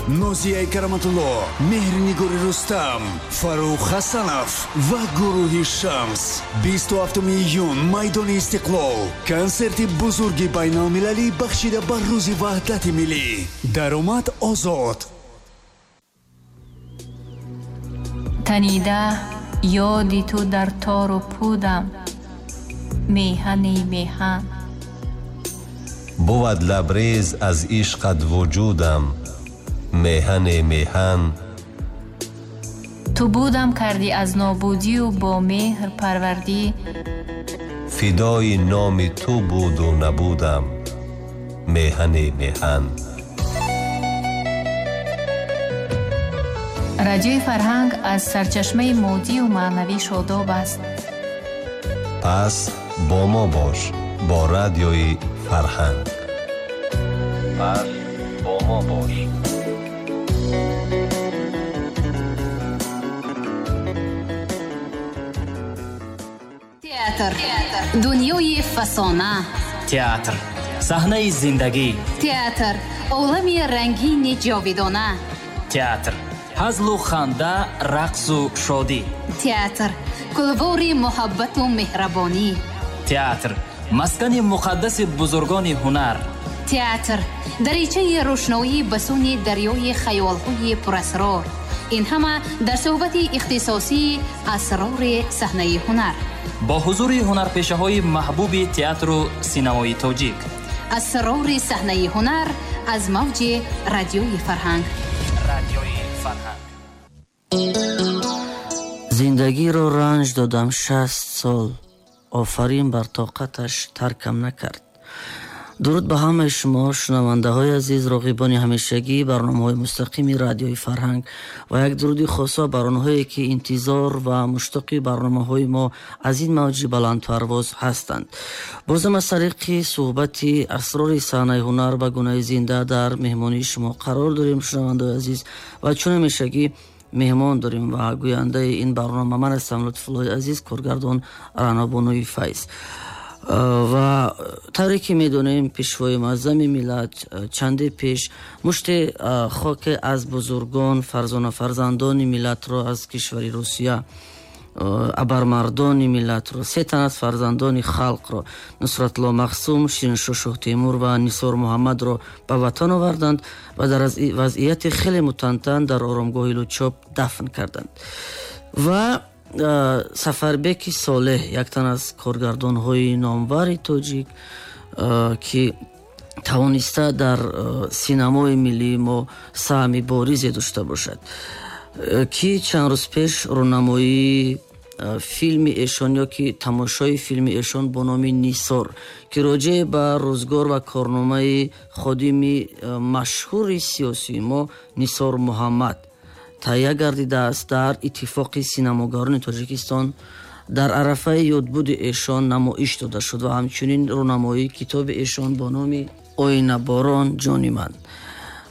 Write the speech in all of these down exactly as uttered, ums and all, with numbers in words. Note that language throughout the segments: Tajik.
Нозияи Караматулло, Меҳрнигори Рустам, Фаррух Ҳасанов ва гурӯҳи Шамс. Бисту ҳафтуми июн, майдони Истиқлол. Консерти бузурги байналмилалӣ бахшида ба Рӯзи Ваҳдати Миллӣ. Даромад озод. Танида ёди ту дар тору пудам, меҳани меҳан. Бувад лабрез аз ишқат вуҷудам, меҳани меҳан. Ту будам кардӣ аз нобудию бо меҳр парвардӣ. Фидои номи ту буду набудам, меҳани меҳан. Радиои Фарҳанг аз сарчашмаи моддию маънавӣ шодоб аст. Пас бо мо бош, бо Радиои Фарҳанг. Пас бо мо бош. Театр. Дунёи фасона. Театр. Саҳнаи зиндагӣ. Театр. Олами рангини ҷовидона. Театр. Ҳазлу ханда, рақсу шодӣ. Театр. Кулвори муҳаббату меҳрабонӣ. Театр. Маскани муқаддаси бузургони ҳунар. Театр. Даричаи рӯшноӣ ба сӯни дарёи хаёлҳои пурасрор. Ин ҳама дар суҳбати ихтисосии асрори саҳнаи ҳунар. Бо ҳузури ҳунарпешаҳои маҳбуби театру синамои тоҷик. Асрори саҳнаи ҳунар аз мавҷи Радиои Фарҳанг. Радиои Фарҳанг. Зиндагиро ранҷ додам шаст сол, офарин бар тоқаташ таркам накард. Дуруд ба ҳамаи шумо шунавандаҳои азиз, роғибони ҳамешагии барномаҳои мустақими Радиои Фарҳанг ва як дуруди хосо бар онҳое ки интизор ва муштоқи барномаҳои мо аз ин мавҷи баландпарвоз ҳастанд. Бозам аз тариқи суҳбати асрори саҳнаи ҳунар ба гунаи зинда дар меҳмонии шумо қарор дорем, шунавандаҳои азиз, ва чун ҳамешагӣ меҳмон дорем ва гӯяндаи ин барнома ман ҳастам, Лутфуллои азиз, коргардон Ранобонуи Файз. Ва тавре ки медонем, пешвои муаззами миллат чанде пеш мушти хоке аз бузургон, фарзона фарзандони миллатро аз кишвари Русия, абармардони миллатро, се тан аз фарзандони халқро, Нусратулло Махсум, Шириншоҳ Шоҳтемур ва Нисор Муҳаммадро ба ватан оварданд ва дар вазъияти хеле мутантан дар оромгоҳи Лучоб дафн карданд. Ва Сафарбеки Солеҳ, як тан аз коргардонҳои номвари тоҷик, ки тавониста дар синамои миллии мо саҳми боризе дошта бошад, ки чанд рӯз пеш рӯнамоии филми эшон ё ки тамошои филми эшон бо номи Нисор, ки роҷеъ ба рӯзгор ва корномаи ходими машҳури сиёсии мо Нисор Муҳаммад таҳия гардидааст, дар Иттифоқи синамогарони Тоҷикистон дар арафаи ёдбуди эшон намоиш дода шуд ва ҳамчунин рӯнамоии китоби эшон бо номи Оинаборон ҷони ман.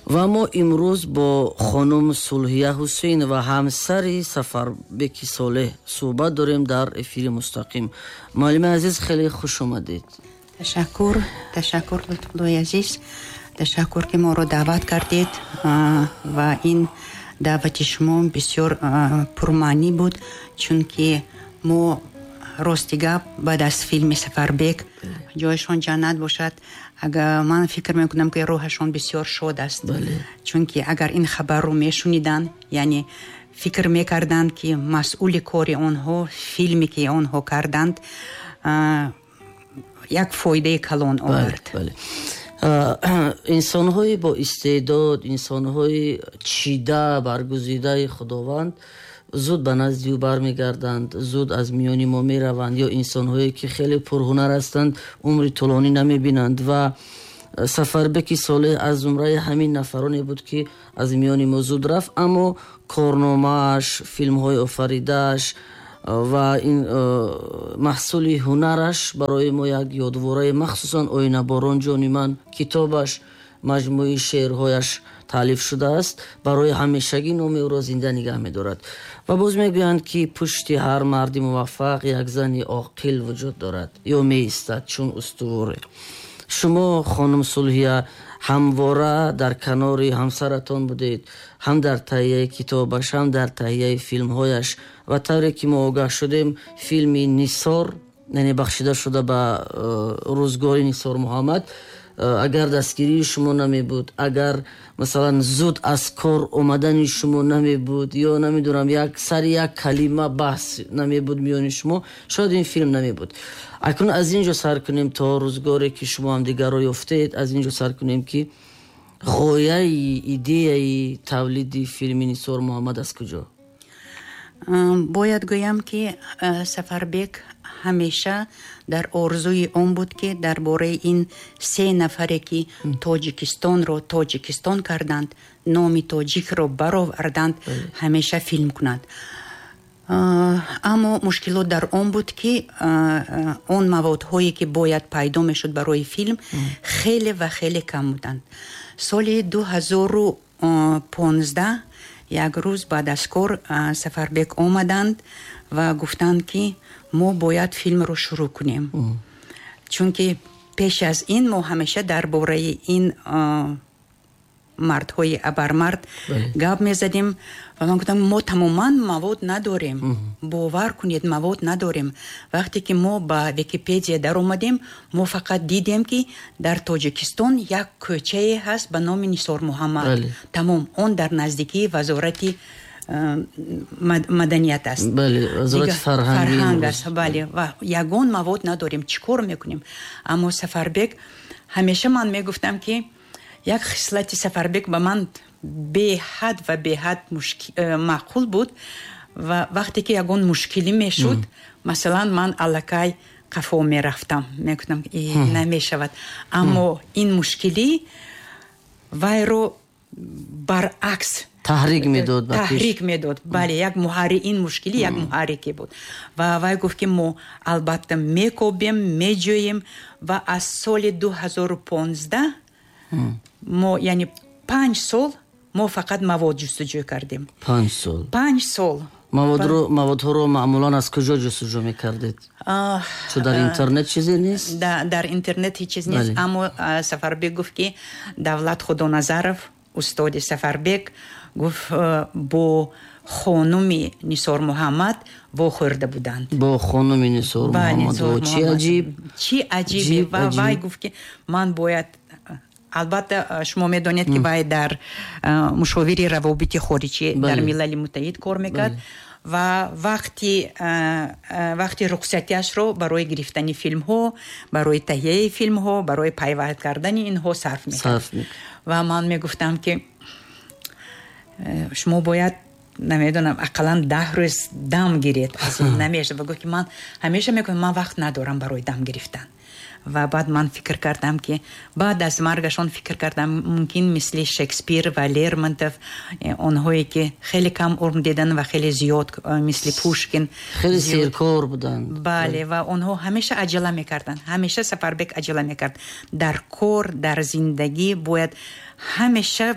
Ва мо имрӯз бо хонум Сулҳия Ҳусейн ва ҳамсари Сафарбеки Солеҳ суҳбат дорем дар эфири мустақим. Муаллими азиз, хеле хуш омадед. Ташаккур, ташаккур, Лутфуллои азиз, ташаккур ки моро даъват кардед ва ин даъвати шумо бисёр пурмаънӣ буд, чунки мо рости гап баъд аз филми Сафарбек, ҷояшон ҷаннат бошад, агар ман фикр мекунам ки рӯҳашон бисёр шод аст, чунки агар ин хабарро мешуниданд, яъне фикр мекарданд ки масъули кори онҳо, филме ки онҳо карданд, як фоидаи калон овард. Инсонҳои бо истеъдод, инсонҳои чида баргузидаи Худованд зуд ба назди ӯ бармегарданд, зуд аз миёни мо мераванд, ё инсонҳое ки хеле пурҳунар ҳастанд умри тӯлонӣ намебинанд. Ва Сафарбеки Солеҳ аз зумраи ҳамин нафароне буд ки аз миёни мо зуд рафт, аммо корномааш, филмҳои офаридааш ва ин маҳсули ҳунараш барои мо як ёдвораи, махсусан Оинаборон ҷони ман, китобаш, маҷмӯи шеърҳояш таълиф шудааст, барои ҳамешагӣ номи ӯро зинда нигаҳ медорад. Ва боз мегӯянд ки пушти ҳар марди муваффақ як зани оқил вуҷуд дорад ё меистад чун устуворе. Шумо, хонум Сулҳия, Ҳамвора дар канори ҳамсаратон будед, ҳам дар таҳияи китобаш, ҳам дар таҳияи филмҳояш. Ва тавре ки мо огаҳ шудем, филми Нисор, яъне бахшида шуда ба рӯзгори Нисор Муҳаммад, агар дастгирии шумо намебуд, агар масалан зуд аз кор омадани шумо намебуд, ё намедонам як сари як калима баҳс намебуд миёни шумо, шояд ин филм намебуд. Акнун аз ин ҷо сар кунем то рӯзгоре ки шумо ҳамдигарро ёфтед, аз ин ҷо сар кунем ки ғояи, идеяи тавлиди филми Нисор Муҳаммад аз куҷо? Бояд гӯям, ки Сафарбек ҳамеша дар орзуи он буд, ки дар бораи ин се нафаре, ки Тоҷикистонро Тоҷикистон карданд, номи тоҷикро бароварданд, ҳамеша филм кунад. Аммо мушкилот дар он буд, ки он маводҳое, ки бояд пайдо мешуд барои филм, хеле ва хеле кам буданд. Соли дуҳазору понздаҳ як рӯз баъд аз кор Сафарбек омаданд ва гуфтанд, ки мо бояд филмро шурӯъ кунем, чунки пеш аз ин мо ҳамеша дар бораи ин мардҳои абармард гап мезадем ва ман гуфтам, мо тамоман мавод надорем, бовар кунед, мавод надорем. Вақте ки мо ба Википедия даромадем, мо фақат дидем, ки дар Тоҷикистон як кӯчае ҳаст ба номи Нисор Муҳаммад, тамом, он дар наздикии вазорати маданият аст, фарҳанг аст, бале, ва ягон мавод надорем, чӣ кор мекунем? Аммо Сафарбек ҳамеша, ман мегуфтам, ки як хислати Сафарбек ба ман беҳад ва беҳад маъқул буд ва вақте ки ягон мушкилӣ мешуд, масалан, ман аллакай қафо мерафтам, мегуфтам, намешавад. Аммо ин мушкилӣ вайро баръакс таҳрик медод, таҳрик медод, бале, як муҳарри, ин мушкилӣ як муҳаррике буд. Ва вай гуфт, ки мо албатта мекобем, меҷӯем. Ва аз соли дуҳазору понздаҳ мо, яъне панҷ сол, мо фақат мавод ҷустуҷӯ кардем. Панҷ сол? Панҷ сол. Маводро, маводҳоро маъмулан аз куҷо ҷустуҷӯ мекардед? Чун дар интернет чизе нест? Дар интернет ҳеҷ чиз нест. Аммо Сафарбек гуфт, ки Давлат Худоназаров, устоди Сафарбек, гуфт, бо хонуми Нисор Муҳаммад вохӯрда буданд. Бо хонуми Нисор Муҳаммад? Чӣ аҷиб! Чӣ аҷибе! Ва вай гуфт, ки ман бояд, албатта шумо медонед, ки вай дар мушовири равобити хориҷӣ дар Милали Муттаҳид кор мекард ва вақти вақти рухсатиашро барои гирифтани филмҳо, барои таҳияи филмҳо, барои пайванд кардани инҳо сарф мекард. Ва ман мегуфтам, ки шумо бояд, намедонам, ақаллан даҳ рӯз дам гиред, аз ин намешавад. Ва гуфт, ки ман ҳамеша мегӯям, ман вақт надорам барои дам гирифтан. Ва баъд ман фикр кардам, ки баъд аз маргашон фикр кардам, мумкин мисли Шекспир ва Лермонтов, онҳое ки хеле кам умр диданд ва хеле зиёд, мисли Пушкин, хеле серкор буданд. Бале, ва онҳо ҳамеша аҷала мекарданд, ҳамеша Сафарбек аҷала мекард дар кор, дар зиндагӣ. Бояд ҳамеша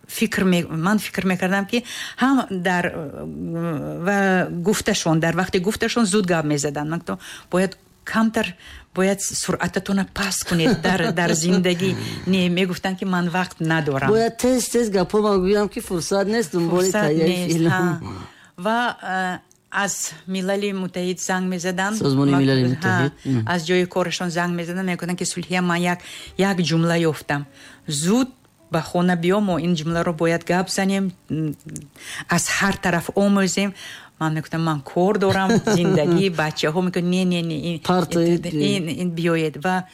фикр, ман фикр мекардам, ки ҳам дар ва гуфташон, дар вақти гуфташон зуд гап мезаданд. Ман гуфтам, бояд камтар, бояд суръататонро паст кунед дар дар зиндагӣ. Не, мегуфтанд, ки ман вақт надорам, бояд тез тез гапҳо ман гӯям, ки фурсат нест дунболи таҳияи филм. Ва аз Милали Муттаҳид занг мезаданд, Созмони Милали Муттаҳид, аз ҷои корашон занг мезаданд, мегуфтанд, ки Сулҳия, ман як як ҷумла ёфтам, зуд ба хона биё, мо ин ҷумларо бояд гап занем, аз ҳар тараф омӯзем. Ман мегуфтам, ман кор дорам, зиндагӣ, бачаҳо. Мегуфт, не, не, не, ин ин биёед. Ва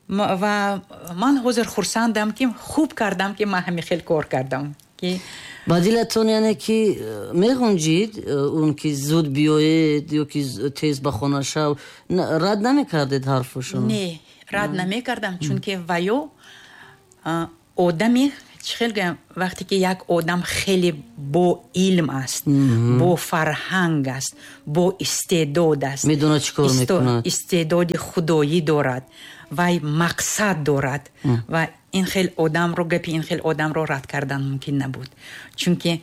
ва ман ҳозир хурсандам, ки хуб кардам, ки ман ҳамин хел кор кардам, ки ба дилатон, яъне ки меғунҷид он ки зуд биёед ё ки тез ба хона шав, рад намекардед ҳарфашон? Не, рад намекардам, чунки ваё одами чӣ хел гӯям, вақте ки як одам хеле бо илм аст, бо фарҳанг аст, бо истеъдод аст, медонад чӣ кор мекунад, истеъдоди худоӣ дорад, вай мақсад дорад, ва ин хел одамро, гапи ин хел одамро рад кардан мумкин набуд, чунки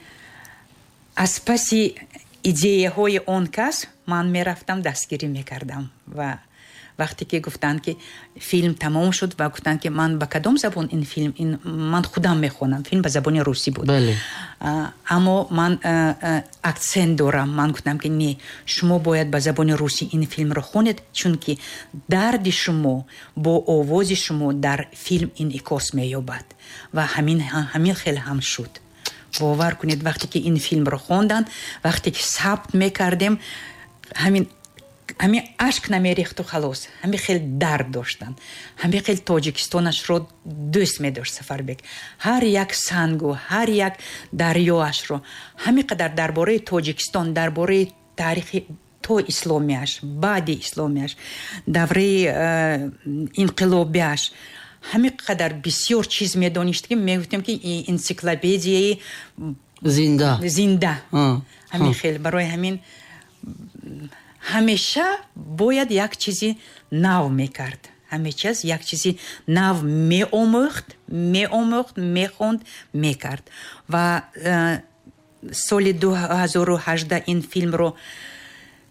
аз паси идеяҳои он кас ман мерафтам, дастгирӣ мекардам. Ва Вақте ки гуфтанд, ки филм тамом шуд ва гуфтанд, ки ман ба кадом забон ин филм, ин ман худам мехонам, филм ба забони русӣ буд, аммо ман акцент дорам. Ман гуфтам, ки не, шумо бояд ба забони русӣ ин филмро хонед, чунки дарди шумо бо овози шумо дар филм инъикос меёбад. Ва ҳамин ҳамин хел ҳам шуд. Бовар кунед, вақте ки ин филмро хонданд, вақте ки сабт мекардем, ҳамин ҳамин ашк намерехту халос, ҳамин хел дард доштанд, ҳамин хел Тоҷикистонашро дӯст медошт Сафарбек. Ҳар як сангу ҳар як дарёашро, ҳамин қадар дар бораи Тоҷикистон, дар бораи таърихи то исломиаш, баъди исломиаш, давраи э, инқилобиаш, ҳамин қадар бисёр чиз медонист, ки мегуфтем, ки энсиклопедияи зинда. Зинда. Ҳамин хел. Барои ҳамин ҳамеша бояд як чизи нав мекард, ҳамеша як чизи нав меомӯхт, меомӯхт, мехонд, мекард. Ва э, соли дуҳазору ҳаждаҳ ин филмро,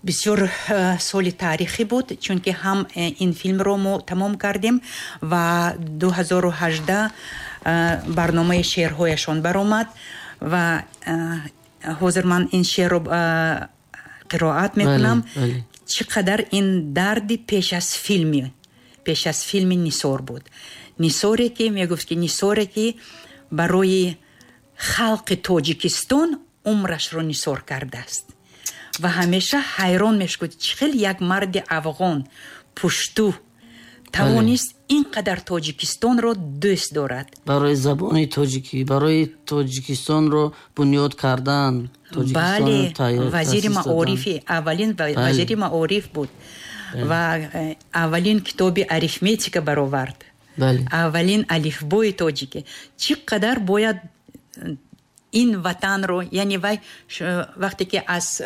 бисёр э, соли таърихӣ буд, чунки ҳам э, ин филмро мо тамом кардем ва дуҳазору ҳаждаҳ барномаи шеърҳояшон баромад. Ва ҳозир ман ин шеърро қироат мекунам. Чӣ қадар ин дарди пеш аз филми пеш аз филми Нисор буд. Нисоре ки мегуфт, ки Нисоре ки барои халқи Тоҷикистон умрашро нисор кардааст. Ва ҳамеша ҳайрон мешуд, чӣ хел як марди афғон, пушту тавонист ин қадар Тоҷикистонро дӯст дорад. Барои забони тоҷикӣ, барои Тоҷикистонро бунёд кардан. Бале, вазири маорифи, аввалин вазири маориф буд ва э, аввалин китоби арифметика баровард, аввалин алифбои тоҷикӣ. Чӣ қадар бояд ин ватанро, яъне вай вақте ки аз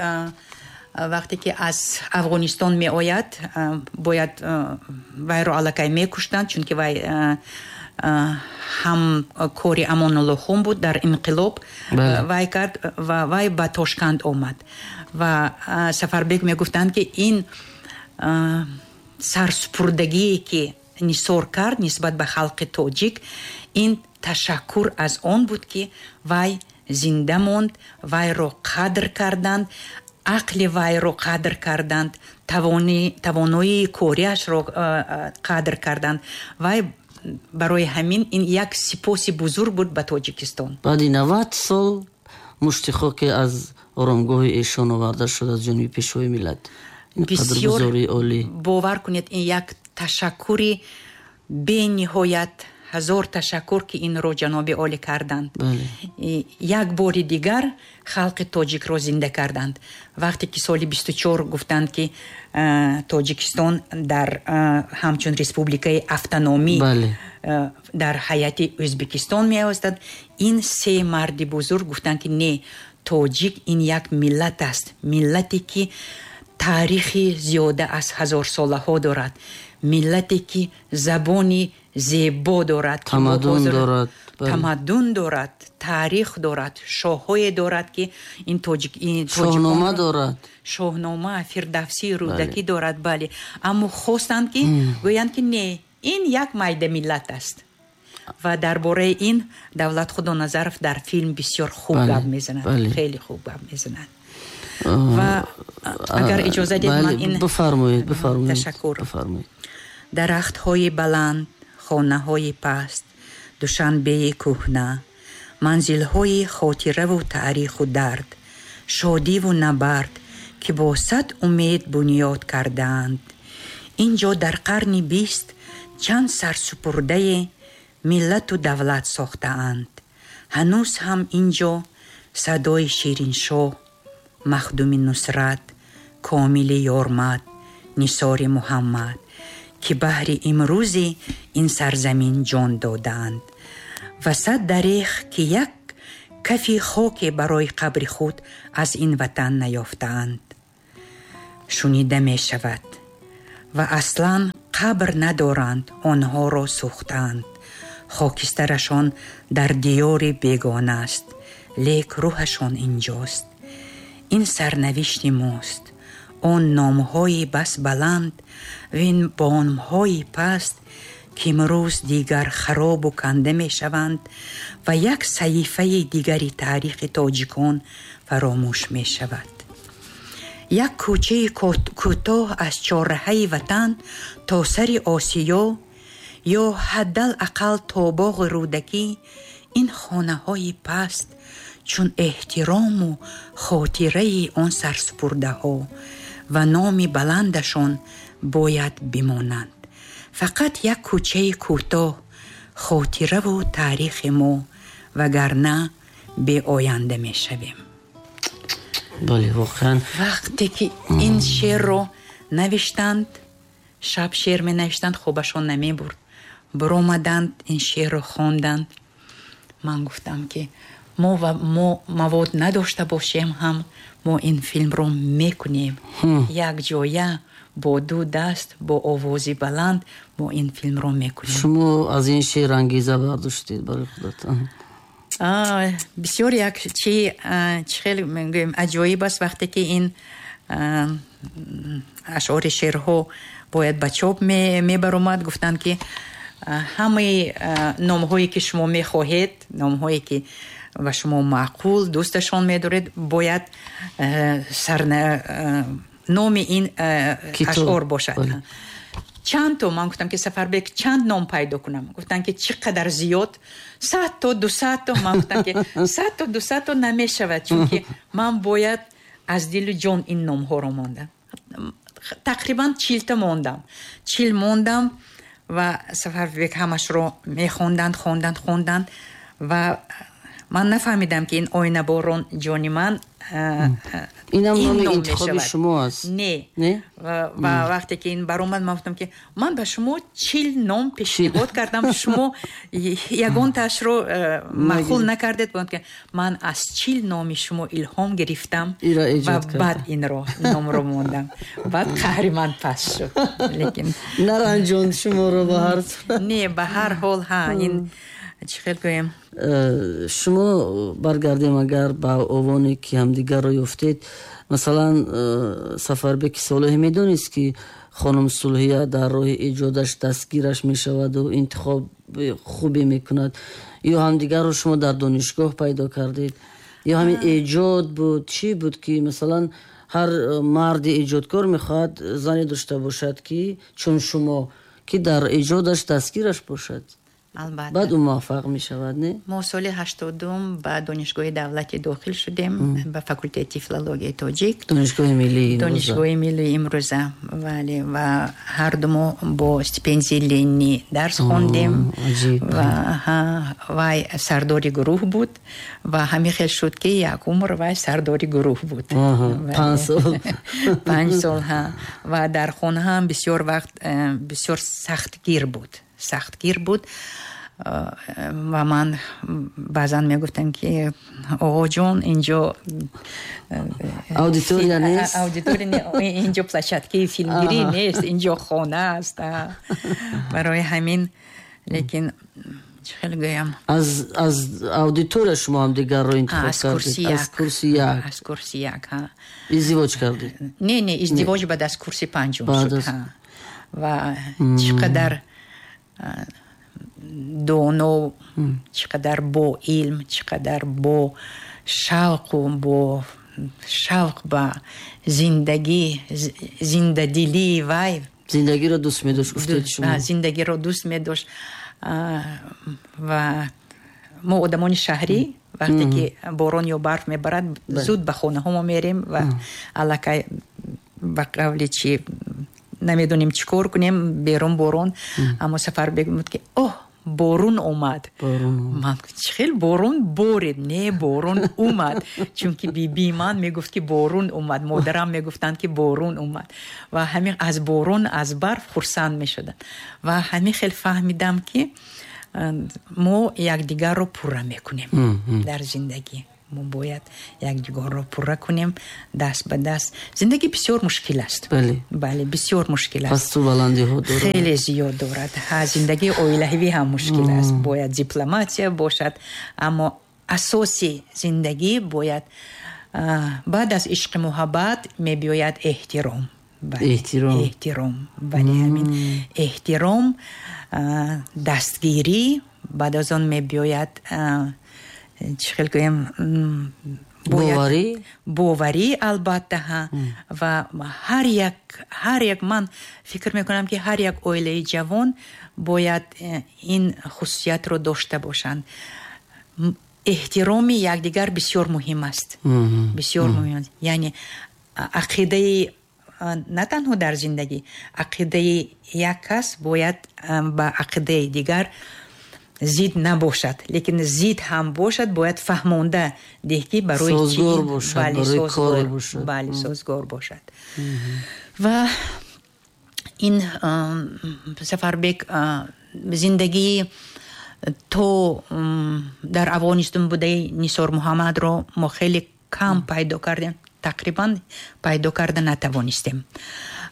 вақте ки аз Афғонистон меояд, бояд вайро аллакай мекуштанд, чунки вай ҳам кори Амонуллохон буд дар инқилоб, вай кард ва вай ба Тошканд омад. Ва Сафарбек мегуфтанд, ки ин сарсупурдагие ки Нисор кард нисбат ба халқи тоҷик, ин ташаккур аз он буд, ки вай зинда монд, вайро қадр карданд, ақли вайро қадр карданд, тавоноии кориашро қадр карданд. Вай барои ҳамин ин як сипоси бузург буд ба Тоҷикистон. Баъди навад сол мушти хоке аз оромгоҳи эшон оварда шуд аз ҷониби Пешвои миллат. Бисёр, бовар кунед, ин як ташаккури бениҳоят, ҳазор ташаккур, ки инро ҷаноби олӣ карданд. Як бори дигар халқи тоҷикро зинда карданд. Вақте ки соли бисту чор гуфтанд, ки Тоҷикистон дар ҳамчун республикаи автономӣ дар ҳайати Ӯзбекистон меостад, ин се марди бузург гуфтанд, ки не, тоҷик ин як миллат аст, миллате ки таърихи зиёда аз ҳазорсолаҳо дорад, миллате ки забони зебо дорад, тамаддун дорад, тамаддун дорад, таърих дорад, шоҳҳое дорад, ки ин тоҷик, шоҳнома дорад, шоҳнома, Фирдавсӣ, Рӯдакӣ дорад. Бале, аммо хостанд, ки гӯянд, ки не, ин як майда миллат аст. Ва дар бораи ин Давлат Худоназаров дар филм бисёр хуб гап мезанад, хеле хуб гап мезанад. Ва агар иҷоза диҳед, ман ин бифармоед, бифармоед. Ташаккур. Дарахтҳои баланд, хонаҳои паст, Душанбеи кӯҳна, манзилҳои хотираву таъриху дард, шодиву набард, ки бо сад умед бунёд кардаанд. Ин ҷо дар қарни бист чанд сарсупурдае миллату давлат сохтаанд. Ҳанӯз ҳам ин ҷо садои Шириншоҳ, Махдуми Нусрат, Комили Ёрмад, Нисори Муҳаммад, ки баҳри имрӯзи ин сарзамин ҷон додаанд. Ва сад дарех, ки як кафи хоке барои қабри худ аз ин ватан наёфтаанд. Шунида мешавад ва аслан қабр надоранд, онҳоро сӯхтаанд. Хокистарашон дар диёри бегона аст, лек рӯҳашон инҷост. Ин сарнавишти мост. Он номҳои бас баланд вин бомҳои паст, ки имрӯз дигар харобу канда мешаванд ва як саҳифаи дигари таърихи тоҷикон фаромӯш мешавад. Як кӯчаи кӯтоҳ аз чорраҳаи ватан то сари Осиё ё ҳаддал ақал то боғи Рӯдакӣ, ин хонаҳои паст чун эҳтирому хотираи он сарсупурдаҳо ва номи баландашон бояд бимонанд. Фақат як кӯчаи кӯтоҳ, хотираву таърихи мо, вагарна беоянда мешавем. Бале, воқеан. Вақте ки ин шеърро навиштанд, шаб шеър менавиштанд, хобашон намебурд. Баромаданд, ин шеърро хонданд. Ман гуфтам, ки мо ва мо мавод надошта бошем ҳам, мо ин филмро мекунем. Якҷоя бо ду даст, бо овози баланд мо ин филмро мекунем. Шумо аз ин шеър ангеза бардоштед барои худатон? Бисёр як чи чӣ хеле мегӯем аҷоиб аст, вақте ки ин ашъори шеърҳо бояд ба чоп мебаромад, гуфтанд, ки ҳамаи номҳое ки шумо мехоҳед, номҳое ки ба шумо маъқул, дӯсташон медоред, бояд сарна номи ин ашъор бошад. Чанд то? Ман гуфтам, ки Сафарбек, чанд ном пайдо кунам? Гуфтанд, ки чӣ қадар зиёд, сад то, дусад то. Ман гуфтам, ки сад то, дусад то намешавад, чунки ман бояд аз дилу ҷон ин номҳоро мондам. Тақрибан чилта мондам, чил мондам ва Сафарбек ҳамашро мехонданд, хонданд, хонданд ва ман нафаҳмидам, ки ин оинаборон ҷони ман инам номи интихоби шумо аст? Не. Ва вақте ки ин баромад, ман гуфтам, ки ман ба шумо чил ном пешниҳод кардам, шумо ягонтаашро маъқул накардед. Ки ман аз чил номи шумо илҳом гирифтам ва баъд инро номро мондам. Баъд қаҳри ман паст шуд, лекин наранҷонд шуморо ба ҳар не, ба ҳар ҳол, ҳа, ин чӣ хел гӯем. Шумо баргардем агар ба овоне ки ҳамдигарро ёфтед, масалан, Сафарбеки Солеҳ медонист, ки хонум Сулҳия дар роҳи эҷодаш дастгираш мешаваду интихоби хубе мекунад, ё ҳамдигарро шумо дар донишгоҳ пайдо кардед, ё ҳамин эҷод буд? Чӣ буд, ки масалан ҳар марди эҷодкор мехоҳад зане дошта бошад, ки чун шумо, ки дар эҷодаш дастгираш бошад? Албатта. Баъд ӯ муваффақ мешавад, не? Мо соли ҳаштодум ба Донишгоҳи давлатӣ дохил шудем, ба факултети филологияи тоҷик. Донишгоҳи миллии. Донишгоҳи миллии имрӯза, бале. Ва ҳарду мо бо стипендияи Ленинӣ дарс хондем. Ва вай сардори гурӯҳ буд ва ҳамин хел шуд, ки як умр вай сардори гурӯҳ буд. Панҷ сол. Панҷ сол, ҳа. Ва дар хона ҳам бисёр вақт бисёр сахтгир буд, сахтгир буд. Ва ман баъзан мегуфтам, ки оғоҷон, инҷо аудитория нест, аудитория, инҷо площадкаи филмгирӣ нест, инҷо хона аст. Барои ҳамин, лекин чӣ хел гӯям, аз аз аудитория шумо ҳамдигарро интихоб кардед? Аз курси як. Аз курси як, ҳа. Издивоҷ кардед? Не, не, издивоҷ баъд аз курси панҷум шуд. Ва чӣ қадар доно, чӣ қадар бо илм, чӣ қадар бо шавқу бо шавқ ба зиндагӣ, зиндадилии вай. Зиндагиро дӯст медошт, гуфтед шумо. Зиндагиро дӯст медошт. Ва мо одамони шаҳрӣ, вақте ки борон ё барф мебарад, зуд ба хонаҳо мо мерем ва аллакай ба қавли чи намедонем чӣ кор кунем, берун борон. Аммо Сафарбек мегуфт, ки оҳ, борун омад. Ман чӣ хел борун борид? Не, борун омад, чунки бибии ман мегуфт, ки борун омад, модарам мегуфтанд, ки борун омад. Ва ҳамин аз борун, аз барф хурсанд мешуданд. Ва ҳамин хел фаҳмидам, ки мо якдигарро пурра мекунем дар зиндагӣ. Мо бояд якдигарро пурра кунем, даст ба даст. Зиндагӣ бисёр мушкил аст. Бале, бале, бисёр мушкил аст. Пасту баландиҳо дорад, хеле зиёд дорад. Ҳа, зиндагии оилавӣ ҳам мушкил аст, бояд дипломатия бошад, аммо асоси зиндагӣ бояд Баъд аз ишқи муҳаббат мебиёяд эҳтиром. Эҳтиром. Эҳтиром. Бале, ҳамин эҳтиром, дастгирӣ, баъд аз он мебиёяд чӣ хел гӯем, боварӣ, боварӣ албатта. Ҳа, ва ҳар як ҳар як ман фикр мекунам, ки ҳар як оилаи ҷавон бояд ин хусусиятро дошта бошанд. Эҳтироми якдигар бисёр муҳим аст, бисёр муҳим аст. Яъне ақидаи на танҳо дар зиндагӣ, ақидаи як кас бояд ба ақидаи дигар зид набошад, лекин зид ҳам бошад, бояд фаҳмонда деҳ, ки барои созгор бошад, барои коре бошад. Бале, созгор бошад. Ва ин Сафарбек зиндагии то дар Афғонистон будаи Нисор Муҳаммадро мо хеле кам пайдо кардем, тақрибан пайдо карда натавонистем,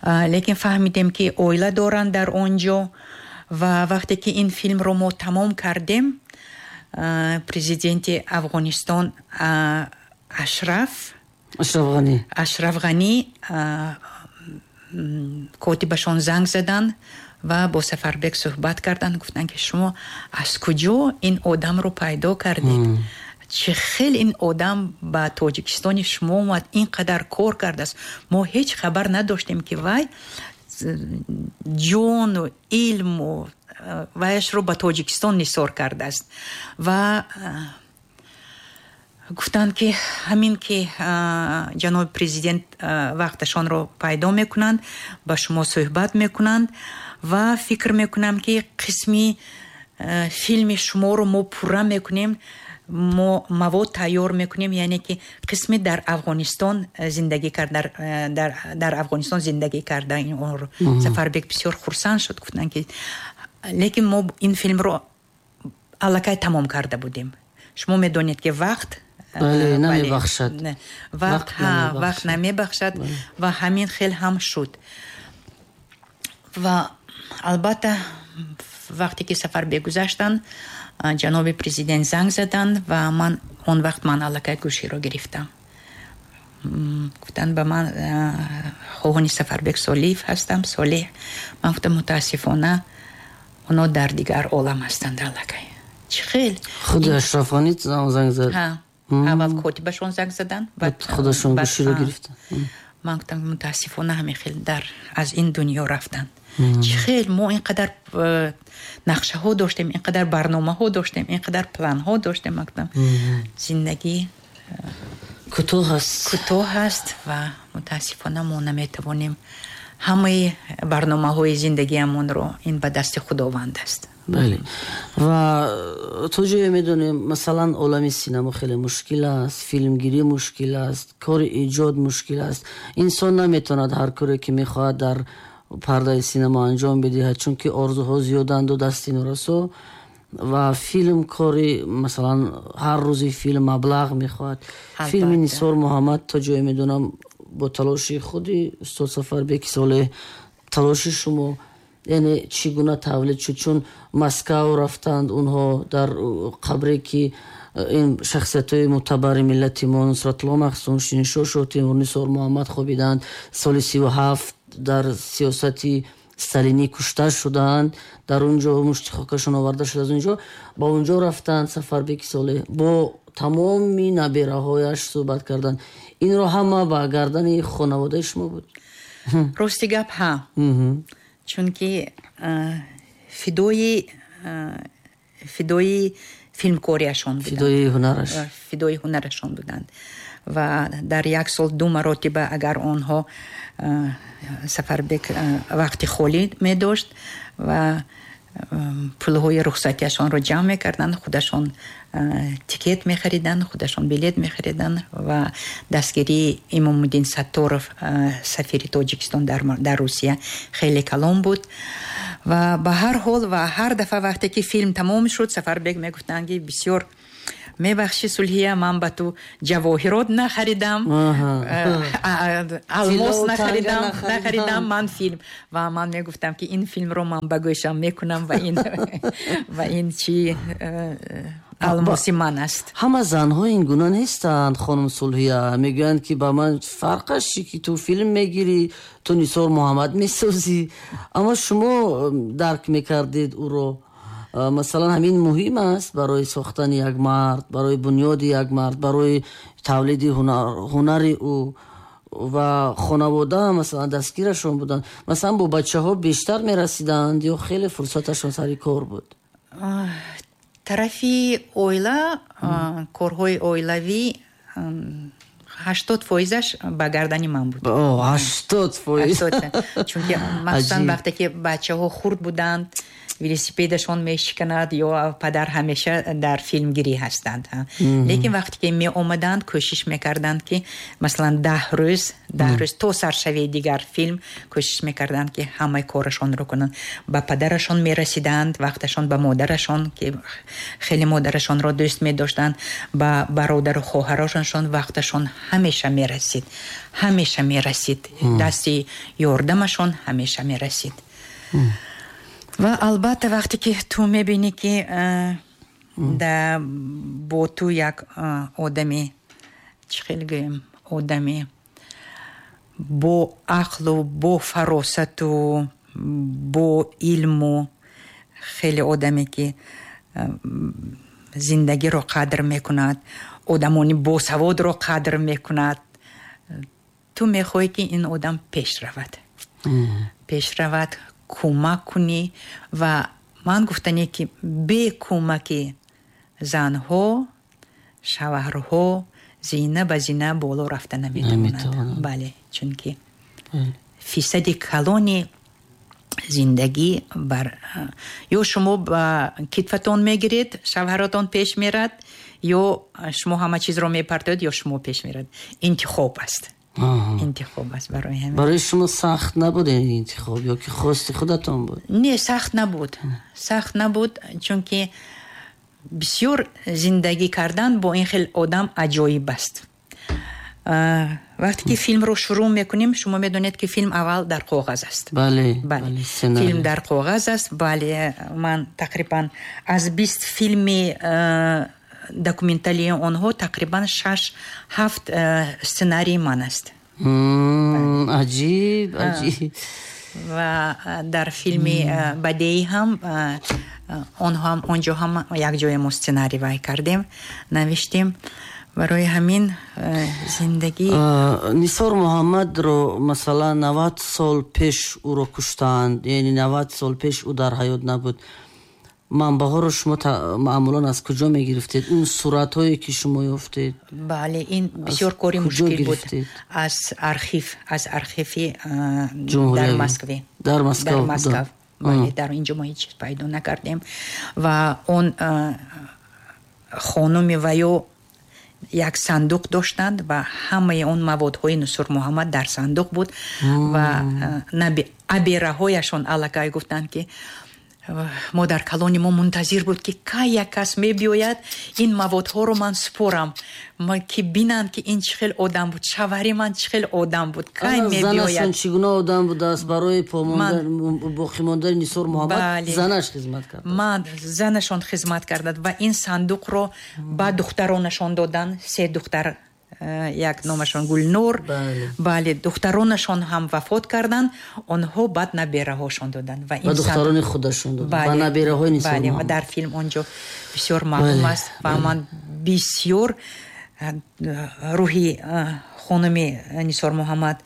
лекин фаҳмидем, ки оила доранд дар он ҷо. Ва вақте ки ин филмро мо тамом кардем, президенти Афғонистон Ашраф Ашраф Ғанӣ Ашраф Ғанӣ котибашон занг заданд ва бо Сафарбек суҳбат карданд. Гуфтанд, ки шумо аз куҷо ин одамро пайдо кардед, чӣ хел ин одам ба Тоҷикистони шумо омад, ин қадар кор кардааст, мо ҳеҷ хабар надоштем, ки вай ҷону илму вайашро ба Тоҷикистон нисор кардааст. Ва гуфтанд, ки ҳамин ки ҷаноби президент вақташонро пайдо мекунанд, ба шумо суҳбат мекунанд ва фикр мекунам, ки қисми филми шуморо мо пурра мекунем, мо мавод тайёр мекунем, яъне ки қисми дар Афғонистон зиндагӣ кард, дар, дар, дар Афғонистон зиндагӣ карда онро. Сафарбек бисёр хурсанд шуд, гуфтанд, ки лекин мо ин филмро аллакай тамом карда будем, шумо медонед, ки вақт бале, намебахшад. Вақт вақт намебахшад. Ва ҳамин хел ҳам шуд. Ва албатта, вақте ки Сафарбек гузаштанд, ҷаноби президент занг заданд ва ман он вақт ман аллакай гӯширо гирифтам. Гуфтанд ба ман: «Хоҳони Сафарбек Солиев ҳастам, Солеҳ». Ман гуфтам: «Мутаассифона, оно дар дигар олам ҳастанд аллакай». Чӣ хел? Худи Ашраф Ғанӣ занг зад? Аввал котибашон занг заданд. Баъд худашон гӯширо гирифтанд. Ман гуфтам: «Мутаассифона, ҳамин хел дар аз ин дунё рафтанд. Чӣ хел мо ин қадар нақшаҳо доштем, ин қадар барномаҳо доштем, ин қадар планҳо доштем?» Ман гуфтам: «Зиндагӣ кӯтоҳ аст, кӯтоҳ аст ва мутаассифона мо наметавонем ҳамаи барномаҳои зиндагиамонро, ин ба дасти Худованд аст». Бале, ва то ҷое медонем, масалан, олами синамо хеле мушкил аст, филмгирӣ мушкил аст, кори эҷод мушкил аст. Инсон наметавонад ҳар коре ки мехоҳад дар пардаи синамо анҷом бидиҳад, чунки орзуҳо зиёданду дасти норасо. Ва филм кори, масалан, ҳар рӯзи филм маблағ мехоҳад. Филми Нисор Муҳаммад, то ҷое медонам, бо талоши худи устод Сафарбеки Солеҳ, талоши шумо, яъне чӣ гуна тавлид шуд? Чун Москав рафтанд онҳо, дар қабре ки ин шахсиятҳои мӯътабари миллати мо, Нусратулло Махсум, Шириншоҳ Шоҳтемур, Нисор Муҳаммад хобиданд, соли сиву ҳафт дар сиёсати сталинӣ кушта шуданд, дар он ҷо мушти хокашон оварда шуд аз он ҷо, ба он ҷо рафтанд. Сафарбеки Солеҳ бо тамоми набераҳояш суҳбат карданд. Инро ҳама ба гардани хонаводаи шумо буд? Рости гап, ҳа, чунки фидои фидои филмкориашон буданд, фидои ҳунараш, фидои ҳунарашон буданд. Ва дар як сол ду маротиба, агар онҳо Сафарбек вақти холӣ медошт ва пулҳои рухсатиашонро ҷамъ мекарданд, худашон тикет мехариданд, худашон билет мехариданд. Ва дастгирии Имомуддин Сатторов, сафири Тоҷикистон дар Русия, хеле калон буд. Ва ба ҳар ҳол, ва ҳар дафъа вақте ки филм тамом шуд, Сафарбек мегуфтанд, ки бисёр мебахшӣ, Сулҳия, ман ба ту ҷавоҳирот нахаридам, алмос нахаридам нахаридам ман филм. Ва ман мегуфтам, ки ин филмро ман ба гӯшам мекунам ва ин ва ин чӣ. Алмоси ман аст. Ҳама занҳо ин гуна нестанд, хонум Сулҳия. Мегӯянд, ки ба ман фарқаш чи, ки ту филм мегирӣ, ту Нисор Муҳаммад месозӣ, аммо шумо дарк мекардед ӯро. Масалан, ҳамин муҳим аст барои сохтани як мард, барои бунёди як мард, барои тавлиди ҳунари ӯ. Ва хонавода масалан дастгирашон буданд, масалан бо бачаҳо бештар мерасиданд ё хеле фурсаташон сари кор буд? Тарафи оила, корҳои оилавӣ ҳаштод фоизаш ба гардани ман буд. Ҳаштод фоиз? Чунки махсусан вақте ки бачаҳо хурд буданд, велосипедашон мешиканад ё падар ҳамеша дар филмгирӣ ҳастанд. Лекин вақте ки меомаданд, кӯшиш мекарданд, ки масалан даҳ рӯз, даҳ рӯз то саршавии дигар филм кӯшиш мекарданд, ки ҳамаи корашонро кунанд. Ба падарашон мерасиданд, вақташон ба модарашон, ки хеле модарашонро дӯст медоштанд, ба бародару хоҳарошоншон вақташон ҳамеша мерасид, ҳамеша мерасид, дасти ёрдамашон ҳамеша мерасид. Ва албатта вақте ки ту мебинӣ, ки да бо ту як одами, чӣ хел гӯем, одами бо ақлу бо фаросату бо илму, хеле одаме ки зиндагиро қадр мекунад, одамони босаводро қадр мекунад, ту мехоҳӣ, ки ин одам пеш равад, пеш равад, кӯмак кунӣ. Ва ман гуфтане, ки бе кӯмаки занҳо шавҳарҳо зина ба зина боло рафта наметавонанд. Бале, чунки фисади калони зиндагӣ бар ё шумо ба китфатон мегиред, шавҳаратон пеш мерад, ё шумо ҳама чизро мепартоед, ё шумо пеш мерад. Интихоб аст, интихоб аст. Барои ҳамин барои шумо сахт набуд ин интихоб ё ки хости худатон буд? Не, сахт набуд, сахт набуд, чунки бисёр зиндагӣ кардан бо ин хел одам аҷоиб аст. Вақте ки филмро шурӯъ мекунем, шумо медонед, ки филм аввал дар коғаз аст. Бале, бале, филм дар коғаз аст. Бале, ман тақрибан аз бист филми документалии онҳо тақрибан шаш ҳафт сценарии ман аст. Аҷиб, аҷиб. Ва дар филми бадеӣ ҳам онҳо ҳам онҷо ҳам якҷоя мо сценарий вай кардем, навиштем. Барои ҳамин зиндагӣ Нисор Муҳаммадро масалан навад сол пеш ӯро куштанд, яъне навад сол пеш ӯ дар ҳаёт набуд. Манбаъҳоро шумо маъмулан аз куҷо мегирифтед? Он суратҳое ки шумо ёфтед? Бале, ин бисёр кори мушкил буд. Аз архив, аз архиви дар Москве. Дар Москва. Дар Москва. Бале, дар инҷо мо ҳеҷ чиз пайдо накардем. Ва он хонуми ваё як сандуқ доштанд ва ҳамаи он маводҳои Нусур Муҳаммад дар сандуқ буд. Ва абераҳояшон аллакай гуфтанд, ки модар калони мо мунтазир буд, ки кай як кас мебиёяд, ин маводҳоро ман супорам, ки бинанд, ки ин чӣ хел одам буд, шавҳари ман чӣ хел одам буд, кай мебиёяд. Занашон чӣ гуна одам будааст? Барои боқӣ мондани Нисор Муҳаммад занаш хизмат кард. Ман занашон хизмат кардад ва ин сандуқро ба духтаронашон доданд. Се духтар, як номашон Гулнур. Бале, духтаронашон ҳам вафот карданд, онҳо баъд набераҳошон доданд. Ва духтарони худашон доданд, ба набераҳои Нисор Муҳаммад. Бале, ва дар филм онҷо бисёр маълум аст. Ва ман бисёр рӯҳи хонуми Нисор Муҳаммад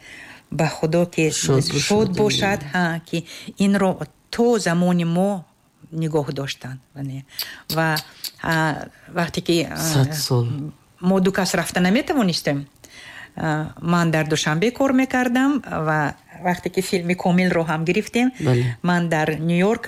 ба Худо ки шод бошад, ки инро то замони мо нигоҳ доштанд. Ва вақте ки сад сол мо ду кас рафта наметавонистем, ман дар Душанбе кор мекардам ва вақте ки филми комилро ҳам гирифтем, ман дар Нью-Йорк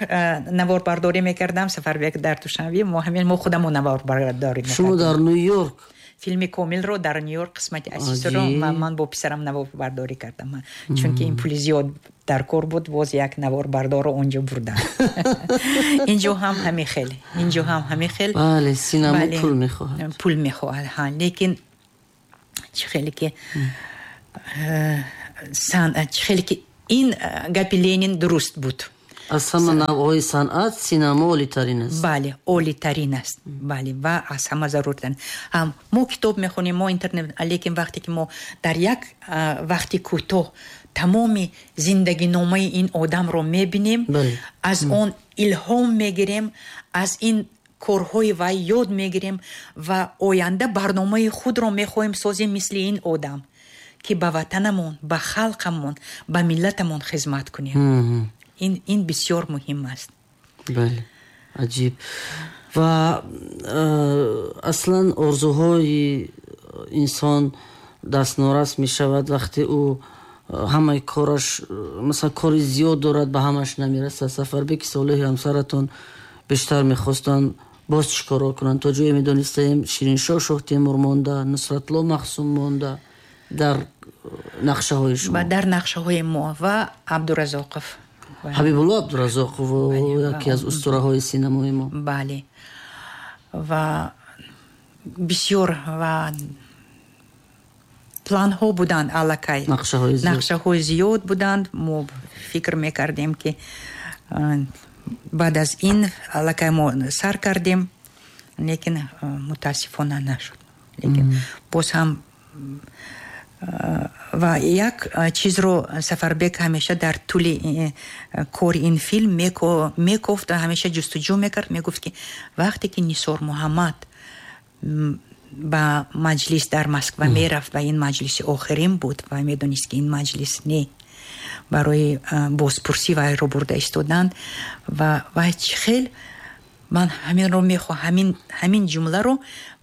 наворбардорӣ мекардам, Сафарбек дар Душанбе. Мо ҳамин мо худамон наворбардорӣ мекардем. Шумо дар Нью-Йорк? Филми комилро дар Нью-Йорк қисмати асосиро ман бо писарам наворбардорӣ кардам, чунки ин пули зиёд дар кор буд, боз як наворбардорро онҷо бурдам. Инҷо ҳам ҳамин хел, инҷо ҳам ҳамин хел. Бале, синема пул мехоҳад. Пул мехоҳад, ҳа. Лекин чӣ хеле ки чӣ хеле ки ин гапи Ленин дуруст буд. Аз ҳама навъҳои санъат синема олитарин аст. Бале, олитарин аст. Бале, ва аз ҳама заруртарин. Мо китоб мехонем, мо интернет, лекин вақте ки мо дар як вақти кӯтоҳ тамоми зиндагиномаи ин одамро мебинем, аз он илҳом мегирем, аз ин корҳои вай ёд мегирем ва оянда барномаи худро мехоҳем созем мисли ин одам, ки ба ватанамон, ба халқамон, ба миллатамон хизмат кунем. Ин, ин бисёр муҳим аст. Бале, аҷиб. Ва аслан орзуҳои инсон дастнорас мешавад вақте ӯ ҳамаи кораш, масалан, кори зиёд дорад, ба ҳамаш намерасад. Сафарбеки Солеҳи ҳамсаратон бештар мехостанд боз чӣ корро кунанд? То ҷое медонистаем, Шириншоҳ Шоҳтемур монда, Нусратулло Махсум монда дар нақшаҳои шумо. Дар нақшаҳои мо ва Абдуразоқов. Ҳабибулло Абдуразоқов, яке аз устураҳои синамои мо. Бале. Ва бисёр ва планҳо буданд аллакай. Нақшаҳои зиёд. Нақшаҳои зиёд буданд. Мо фикр мекардем, ки баъд аз ин аллакай мо сар кардем, лекин мутаассифона нашуд. Лекин боз ҳам ва як чизро Сафарбек ҳамеша дар тӯли кори ин филм мекофт ва ҳамеша ҷустуҷӯ мекард. Мегуфт, ки вақте ки Нисор Муҳаммад ба маҷлис дар Москва мерафт ва ин маҷлиси охирин буд ва медонист, ки ин маҷлис не барои бозпурсӣ вайро бурда истоданд, ва вай чӣ хел ман ҳаминро мехоҳам, ҳамин ҷумларо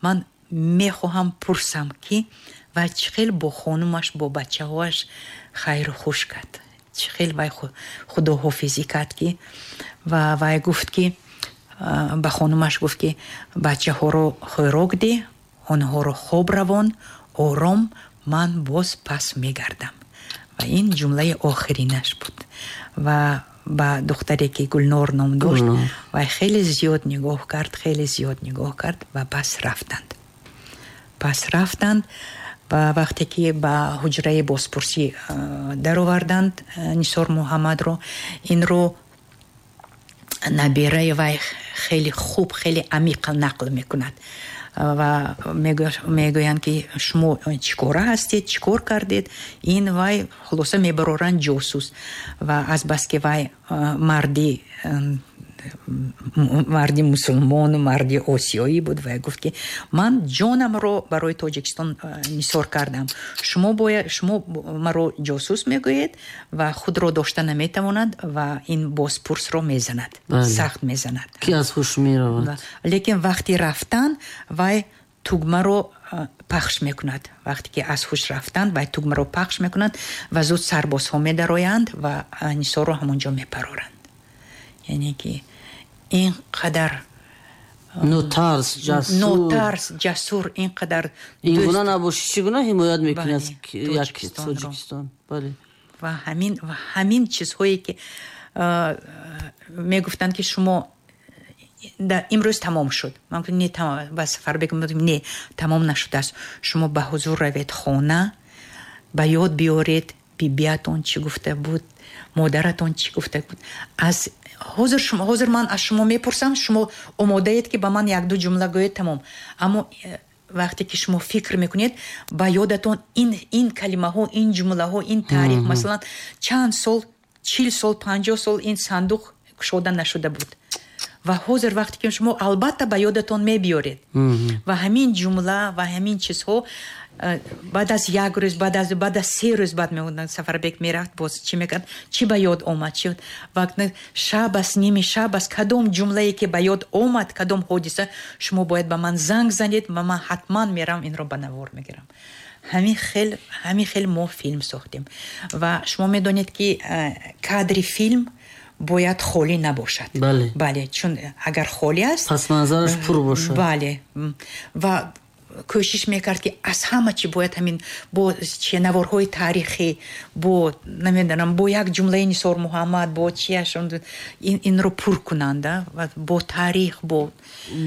ман мехоҳам пурсам, ки вай чӣ хел бо хонумаш, бо бачаҳояш хайру хуш кард, чӣ хел вай худоҳофизӣ кард, ки ва вай гуфт, ки ба хонумаш гуфт, ки бачаҳоро хӯрок деҳ, онҳоро хоб равон, ором, ман боз пас мегардам. Ва ин ҷумлаи охиринаш буд. Ва ба духтаре, ки Гулнор ном дошт, вай хеле зиёд нигоҳ кард, хеле зиёд нигоҳ кард ва пас рафтанд. Пас рафтанд ва вақте ки ба ҳуҷраи бозпурсӣ дароварданд Нисор Муҳаммадро, инро набираи вай хеле хуб, хеле амиқ нақл мекунад ва мегӯянд, ки шумо чӣ кора ҳастед, чӣ кор кардед? Ин вай хулоса мебароранд ҷосус. Ва азбаски вай марди марди мусулмону марди осиёӣ буд, вай гуфт, ки ман ҷонамро барои Тоҷикистон нисор кардам, шумо бояд, шумо маро ҷосус мегӯед. Ва худро дошта наметавонад ва ин бозпурсро мезанад, сахт мезанад, ки аз ҳуш меравад. Лекин вақти рафтан вай тугмаро пахш мекунад. Вақте ки аз ҳуш рафтан, вай тугмаро пахш мекунад ва зуд сарбозҳо медароянд ва Нисорро ҳамонҷо мепароранд. Яъне ки ин қадар нотарс, ҷасур, нотарс, ҷасур, ин қадар ин гуна набошӣ, чӣ гуна ҳимоят мекунӣ аз як Тоҷикистон? Бале. Ва ҳамин, ва ҳамин чизҳое, ки мегуфтанд, ки шумо имрӯз тамом шуд. Ман гуфтам, не, ба Сафарбек мегуфтам, не, тамом нашудааст. Шумо ба ҳузур равед хона, ба ёд биёред бибиятон чӣ гуфта буд, модаратон чӣ гуфта буд. Аз ҳозир шумо, ҳозир ман аз шумо мепурсам, шумо омодаед, ки ба ман як-ду ҷумла гӯед, тамом. Аммо вақте ки шумо фикр мекунед, ба ёдатон ин ин калимаҳо, ин ҷумлаҳо, ин таърих, масалан, чанд сол, чил сол, панҷоҳ сол ин сандуқ кушода нашуда буд. Ва ҳозир вақте ки шумо албатта ба ёдатон мебиёред. Ва ҳамин ҷумла ва ҳамин чизҳо баъд аз як рӯз, баъд аз баъд аз се рӯз баъд мегуфтанд, Сафарбек мерафт, боз чӣ мекард, чӣ ба ёд омад, чӣ ва шаб аст, ними шаб аст, кадом ҷумлае ки ба ёд омад, кадом ҳодиса, шумо бояд ба ман занг занед ва ман ҳатман мерам инро ба навор мегирам. Ҳамин хел, ҳамин хел мо филм сохтем. Ва шумо медонед, ки кадри филм бояд холӣ набошад. Бале. Бале, чун агар холӣ аст, пасманзараш пур бошад. Бале. Ва кӯшиш мекард, ки аз ҳама чӣ бояд ҳамин бо чи наворҳои таърихӣ, бо намедонам, бо як ҷумлаи Нисор Муҳаммад, бо чияш инро пур кунанд, ва бо таърих, бо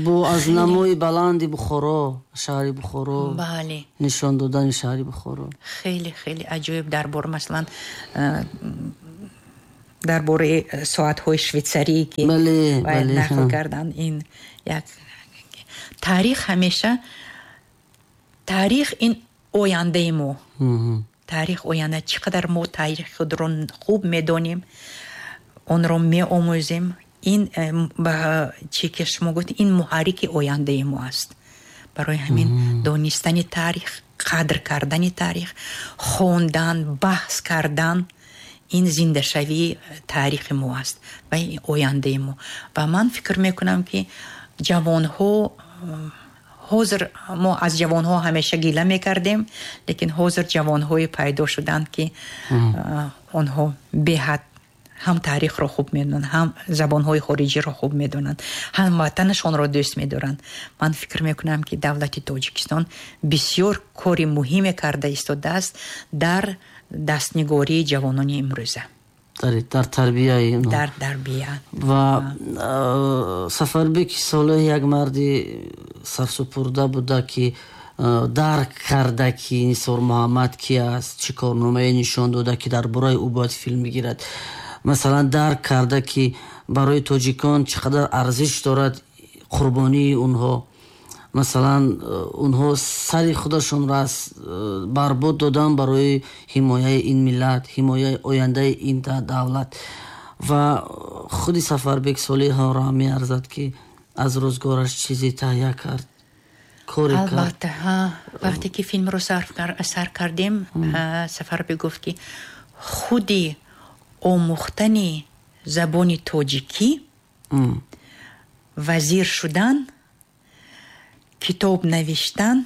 бо аз намои баланди Бухоро, шаҳри Бухоро. Бале. Нишон додани шаҳри Бухоро. Хеле хеле аҷоиб дар бор, масалан, Дар бораи соатҳои швейтсарӣ ки бояд нақл кардан, ин як таърих, ҳамеша таърих ин ояндаи мо. Таърих оянда, чӣ қадар мо таърихи худро хуб медонем, онро меомӯзем, ин ба чӣ ки шумо гуфт, ин муҳаррики ояндаи мо аст. Барои ҳамин донистани таърих, қадр кардани таърих, хондан, баҳс кардан, ин зиндашавии таърихи мо аст ва ояндаи мо. Ва ман фикр мекунам, ки ҷавонҳо ҳозир, мо аз ҷавонҳо ҳамеша гила мекардем, лекин ҳозир ҷавонҳое пайдо шуданд, ки онҳо беҳад ҳам таърихро хуб медонанд, ҳам забонҳои хориҷиро хуб медонанд, ҳам ватанашонро дӯст медоранд. Ман фикр мекунам, ки давлати Тоҷикистон бисёр кори муҳиме карда истодааст дар дастнигории ҷавонони имрӯза. Дар тарбияи дар тарбия. Ва Сафарбеки Солеҳ як марди сарсупурда буда, ки дарк карда, ки Нисор Муҳаммад ки аст, чӣ корномае нишон дода, ки дар бораи ӯ бояд филм бигирад. Масалан, дарк карда, ки барои тоҷикон чӣ қадар арзиш дорад қурбонии онҳо. Масалан, онҳо сари худашонро аз барбод додан барои ҳимояи ин миллат, ҳимояи ояндаи ин давлат. Ва худи Сафарбек Солеҳро меарзад, ки аз рӯзгораш чизе таҳия кард, коре кард. Албатта, вақте ки филмро сар кардем, Сафарбек гуфт, ки худи омӯхтани забони тоҷикӣ, вазир шудан, китоб навиштан,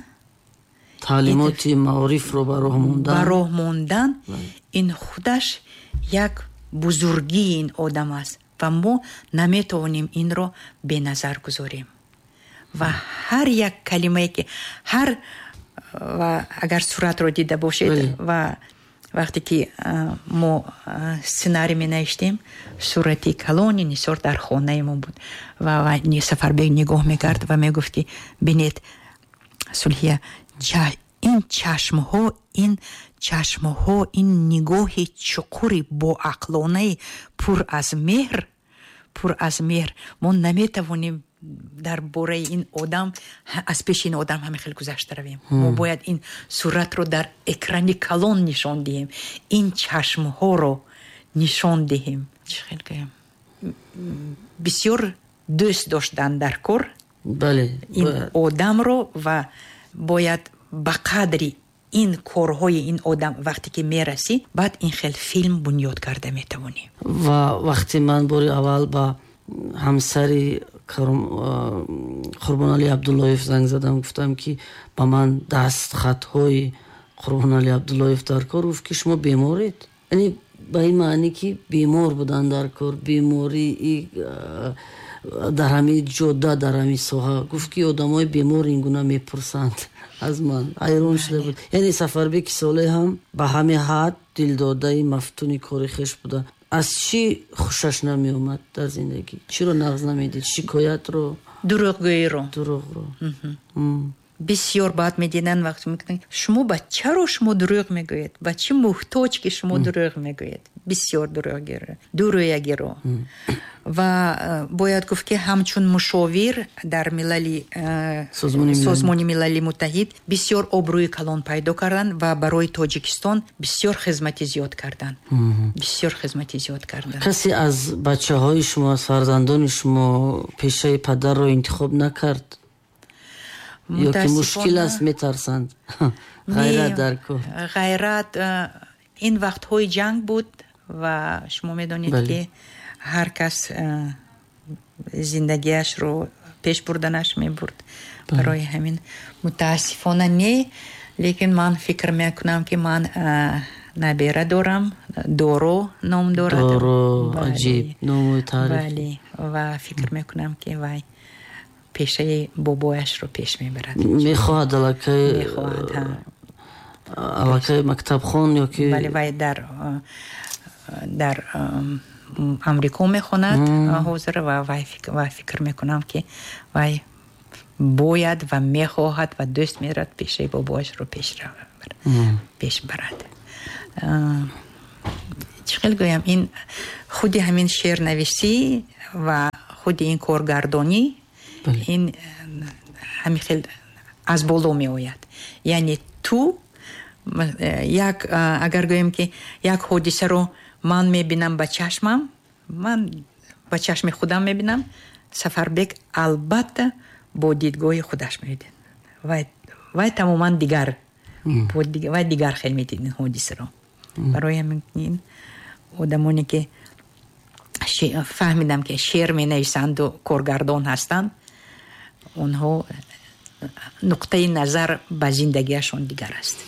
таълимоти маорифро ба роҳ мондан, ба роҳ мондан, ин худаш як бузургии ин одам аст ва мо наметавонем инро беназар гузорем. Ва ҳар як калимае ки ҳар, ва агар суратро дида бошед, ва вақте ки мо сценарий менавиштем, сурати калони Нисор дар хонаи мо буд ва Сафарбек нигоҳ мекард ва мегуфт, ки бинед, Сулҳия, ин чашмҳо, ин чашмҳо, ин нигоҳи чуқури боақлонаи пур аз меҳр, пур аз меҳр, мо наметавонем дар бораи ин одам, аз пеши ин одам ҳамин хел гузашта равем. Мо бояд ин суратро дар экрани калон нишон диҳем, ин чашмҳоро нишон диҳем. Чӣ хел гӯям, бисёр дӯст доштан дар кор бале ин одамро ва бояд ба қадри ин корҳои ин одам вақте ки мерасӣ, баъд ин хел филм бунёд карда метавонӣ. Ва вақте ман бори аввал ба ҳамсари Қурбоналӣ Абдуллоев занг задам, гуфтам, ки ба ман дастхатҳои Қурбоналӣ Абдуллоев дар кор, гуфт, ки шумо беморед. Яъне ба ин маъне, ки бемор будан дар кор, бемории дар ҳамин ҷода, дар ҳамин соҳа. Гуфт, ки одамои бемор ин гуна мепурсанд аз ман. Ҳайрон шуда буд. Яъне Сафарбеки Солеҳ ҳам ба ҳамин ҳад дилдодаи мафтуни кори хеш буда. Аз чӣ хушаш намеомад дар зиндагӣ? Чиро нағз намедид? Шикоятро? Дурӯғгӯиро. Дурӯғро. Бисёр бад медиданд, вақте мегуфтанд: шумо ба чаро шумо дурӯғ мегӯед, ба чӣ муҳтоҷ, ки шумо дурӯғ мегӯед? Бисёр дурӯягиро. Ва бояд гуфт, ки ҳамчун мушовир дар Милали Созмони Милали Муттаҳид бисёр обрӯи калон пайдо карданд ва барои Тоҷикистон бисёр хизмати зиёд карданд, бисёр хизмати зиёд карданд. Касе аз бачаҳои шумо, аз фарзандони шумо пешаи падарро интихоб накард? Ё ки мушкил аст, метарсанд? Ғайрат дар кор. Ғайрат, ин вақтҳои ҷанг буд ва шумо медонед, ки ҳар кас зиндагиашро пеш бурданаш мебурд. Барои ҳамин мутаассифона не, лекин ман фикр мекунам, ки ман набера дорам, Доро ном дорад. Доро, аҷиб ному таъриф. Бале, ва фикр мекунам, ки вай пешаи бобояшро пеш мебарад. Мехоҳад аллакай? Мехоҳад, ҳа. Аллакай мактабхон ё ки? Бале, вай дар дар Амрико мехонад ҳозир ва вай фикр мекунам, ки вай бояд ва мехоҳад ва дӯст медорад пешаи бобояшро пеш барад. Чӣ Чӣ хел гӯям, ин худи ҳамин шеърнависӣ ва худи ин коргардонӣ, ин ҳамин хел аз боло меояд. Яъне ту як, агар гӯем, ки як ҳодисаро ман мебинам ба чашмам, ман ба чашми худам мебинам, Сафарбек албатта бо дидгоҳи худаш мебинад. вай вай тамоман дигар, вай дигар хел медид ин ҳодисаро. Барои ҳамин ин одамоне ки фаҳмидам, ки шеър менависанду коргардон ҳастанд, онҳо нуқтаи назар ба зиндагиашон дигар аст.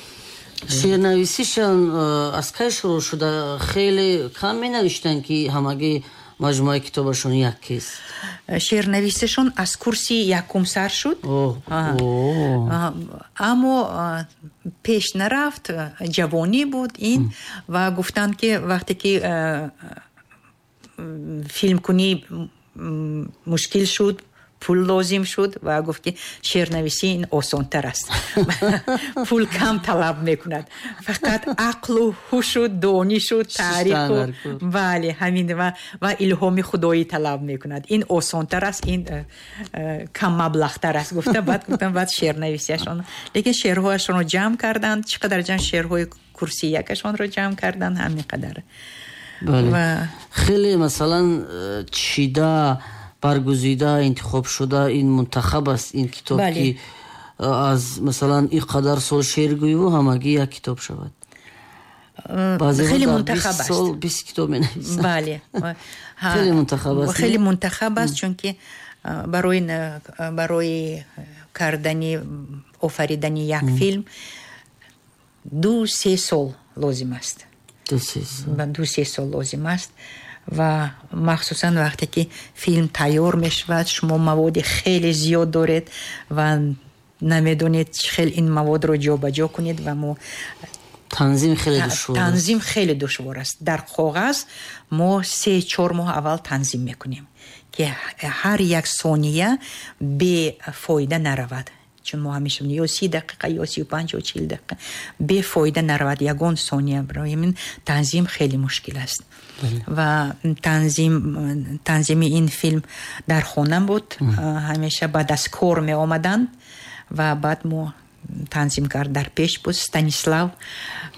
Шеърнависишон э, аз кай шурӯъ шуда? Хеле кам менавиштанд, ки ҳамагӣ маҷмӯаи китобашон якест. Шеърнависишон аз курси якум сар шуд, аммо пеш нарафт. Ҷавонӣ буд ин. Ва гуфтанд, ки вақте ки филмкунӣ мушкил шуд, пул лозим шуд, ва гуфт, ки шеърнависӣ ин осонтар аст, пул кам талаб мекунад, фақат ақлу ҳушу донишу таъриху, бале, ҳамин ва илҳоми худоӣ талаб мекунад, ин осонтар аст, ин э, э, кам маблағтар аст, гуфта. Баъд гуфтам, баъд шеърнависиашон, лекин шеърҳояшонро ҷамъ карданд. Чӣ қадар ҷамъ? Шеърҳои курси якашонро ҷамъ карданд, ҳамин қадар. Хеле, масалан, э, чида, баргузида, интихоб шуда, ин мунтахаб аст ин китоб, ки аз, масалан, ин қадар сол шеъргӯиву ҳамагӣ як китоб шавад. Хеле мунтахаб аст. Бист китоб менависанд. Бале. Хеле мунтахаб аст. Хеле мунтахаб аст, чунки барои барои кардани, офаридани як филм ду се сол лозим аст. Ду се сол лозим аст. Ва махсусан вақте ки филм тайёр мешавад, шумо маводи хеле зиёд доред ва намедонед, чӣ хел ин маводро ҷобаҷо кунед. Ва мо Танзим хеле душвор. Танзим хеле душвор аст. Дар коғаз мо се чор моҳ аввал танзим мекунем, ки ҳар як сония бефоида наравад, чун мо ҳамеша ё си дақиқа, ё сию панҷ, ё чил дақиқа, бефоида наравад ягон сония. Барои ҳамин танзим хеле мушкил аст. Ва танзим танзими ин филм дар хона буд. Ҳамеша баъд аз кор меомаданд ва баъд мо танзим кард. Дар пеш буд Станислав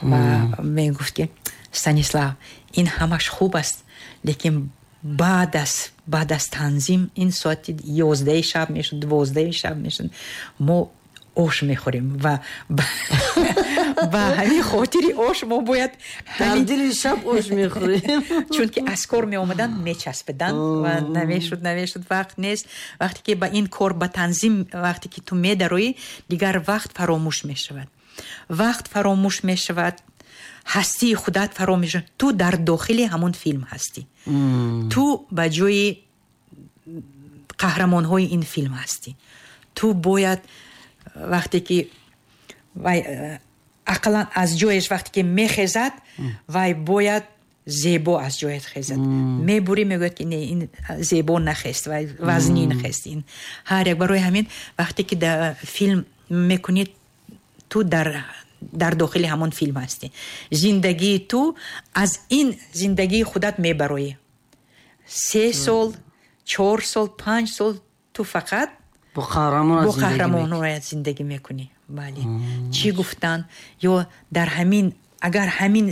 ва мегуфт, ки Станислав, ин ҳамаш хуб аст, лекин баъд аз баъд аз танзим ин соати ёздаҳи шаб мешуд, дувоздаҳи шаб мешуд, мо ош мехӯрем ва ба ҳамин хотири ош мо бояд Дар дили шаб ош мехӯрем. Чунки аз кор меомаданд, мечаспиданд ва намешуд, намешуд, вақт нест. Вақте ки ба ин кор, ба танзим вақте ки ту медароӣ, дигар вақт фаромӯш мешавад, вақт фаромӯш мешавад, ҳастии худат фаромӯш мешавад. Ту дар дохили ҳамон филм ҳастӣ, ту ба ҷои қаҳрамонҳои ин филм ҳастӣ. Ту бояд вақте ки вай ақаллан аз ҷояш вақте ки мехезад, вай бояд зебо аз ҷояш хезад. Мебурӣ, мегӯяд, ки не, ин зебо нахест, вай вазнин хест. Ин ҳар як, барои ҳамин вақте ки да филм мекунӣ, ту дар дар дохили ҳамон филм ҳастӣ. Зиндагии ту аз ин зиндагии худат мебароӣ. Се сол, чор сол, панҷ сол ту фақат бо қаҳрамонҳоят зиндагӣ мекунӣ. Бале, чӣ гуфтан ё дар ҳамин, агар ҳамин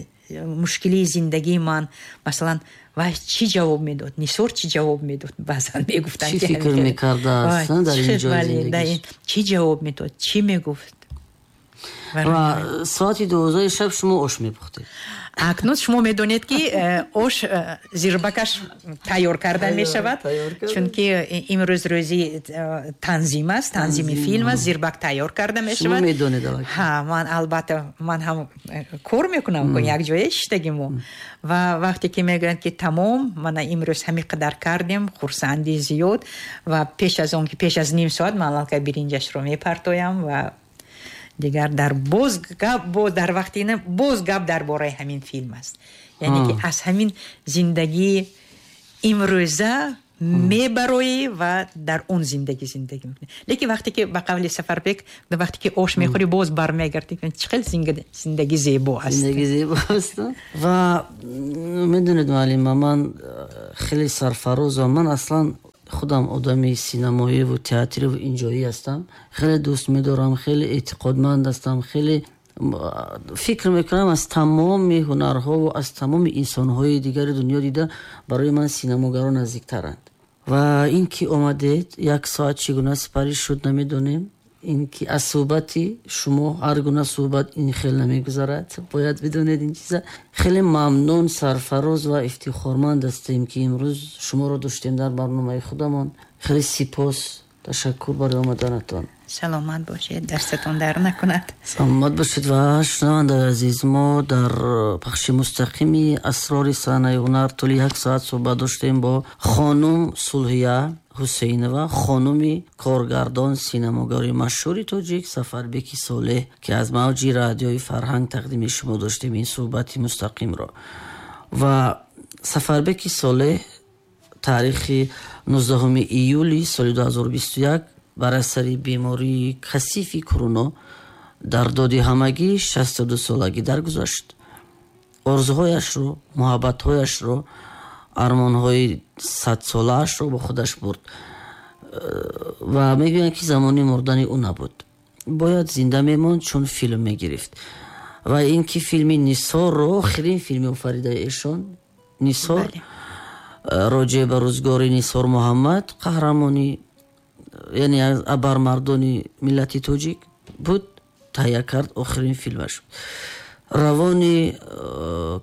мушкилии зиндагии ман, масалан, вай чӣ ҷавоб медод, Нисор чӣ ҷавоб медод, баъзан мегуфтанд. Чӣ фикр мекардааст дар ин ҷои зиндагиш? Чӣ ҷавоб медод, чӣ мегуфт? Ва соати дувоздаҳи шаб шумо ош мепухтед. Акнун шумо медонед, ки э, ош э, зирбакаш тайёр карда мешавад, чунки имрӯз рӯзи э, танзим аст, танзими филм аст, зирбак тайёр карда мешавад. Медонед. Ҳа, ман албатта, ман ҳам кор мекунам, якҷоя шиштагӣ мо. Ва вақте ки мегӯянд, ки тамом, мана имрӯз ҳамин қадар кардем, хурсандӣ зиёд. Ва пеш аз он ки, пеш аз ним соат ман аллакай биринҷашро мепартоям ва дигар дар боз гап, боз дар вақти ина боз гап дар бораи ҳамин филм аст. Яъне ки аз ҳамин зиндагии имрӯза. Мебароӣ ва дар он зиндагӣ зиндагӣ мекунӣ. Лекин вақте ки ба қавли Сафарбек, вақте ки ош мехӯрӣ, боз бармегардӣ, чӣ хел зиндагӣ зебо аст. Зиндагӣ зебо аст. Ва медонед, муаллима, ман хеле сарфарозам. Ман аслан худам одами синамоӣ ва театрӣ ва инҷоӣ ҳастам. Хеле дӯст медорам, хеле эътиқодманд ҳастам, хеле фикр мекунам аз тамоми ҳунарҳо ва аз тамоми инсонҳои дигари дунё дида барои ман синамогарон наздиктаранд. Ва ин ки омадед, як соат чӣ гуна сипарӣ шуд намедонем. Ин ки аз суҳбати шумо ҳар гуна суҳбат ин хел намегузарад, бояд бидонед ин чиза. Хеле мамнун, сарфароз ва ифтихорманд ҳастем, ки имрӯз шуморо доштем дар барномаи худамон. Хеле сипос, ташаккур барои омаданатон. Саломат бошед, дастатон дар накунад. Саломат бошед. Ва шунавандаи азиз, мо дар пахши мустақими асрори саҳнаи ҳунар тӯли як соат суҳбат доштем бо хонум Сулҳия Ҳусейнова, хонуми коргардон, синамогари машҳури тоҷик Сафарбеки Солеҳ, ки аз мавҷи радиои Фарҳанг тақдими шумо доштем ин суҳбати мустақимро. Ва Сафарбеки Солеҳ таърихи нуздаҳуми июли соли ду ҳазору бисту як бар асари бемории касифи короно дар доди ҳамагӣ шасту ду солагӣ даргузашт. Орзуҳояшро, муҳаббатҳояшро, армонҳои садсолаашро бо худаш бурд ва мегӯянд, ки замони мурдани ӯ набуд. Бояд зинда мемонд, чун филм мегирифт. Ва ин ки филми Нисорро, охирин филми офаридаи эшон, Нисор, роҷеъ ба рӯзгори Нисор Муҳаммад, қаҳрамони, яъне аз абармардони миллати тоҷик буд, таҳия кард охирин филмаш. Равони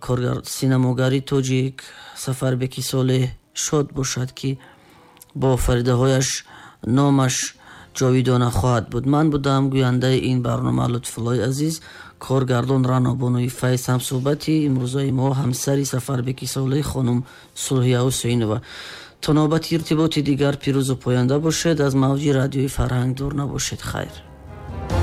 коргар синамогари тоҷик Сафарбеки Солеҳ шод бошад, ки бо офаридаҳояш номаш ҷовидона хоҳад буд. Ман будам гӯяндаи ин барнома Лутфуллои азиз, коргардон Ранобонуи Файз, ҳамсӯҳбати имрӯзаи мо ҳамсари Сафарбеки Солеҳ хонум Сулҳия Ҳусейнова. То навбати иртиботи дигар пирӯзу поянда бошед. Аз мавҷи радиои Фарҳанг дур набошед. Хайр.